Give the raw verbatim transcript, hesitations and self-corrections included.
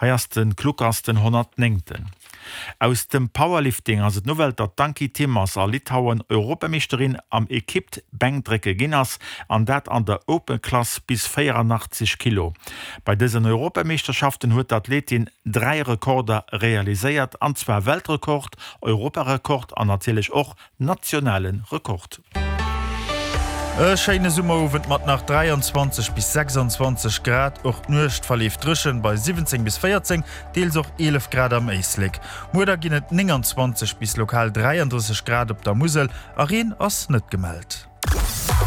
Hei ass de Klukas den honnertnéngten. Aus dem Powerlifting ass et d'Nouvelle, datt d'Ankie Timmers a Litauen Europameeschterin am Equipe-Bänkdrécke ginn ass, an dat an der Open Klass bis véierannachtzeg Kilo. Bei dësen Europameeschterschaften huet d'Athletin dräi Rekorder realiséiert, an zwar Weltrekord, Europarekord an natierlech och nationale Rekord. E schéine Summerowend mat nach dräianzwanzeg bis sechsanzwanzeg Grad. Och d'Nuecht verleeft dréchen bei siwwenzéng bis véierzéng, deels och eelef Grad am Éislek. Muer da ginn et nénganzwanzeg bis lokal dräiandrësseg Grad op der Musel a Reen ass net gemellt.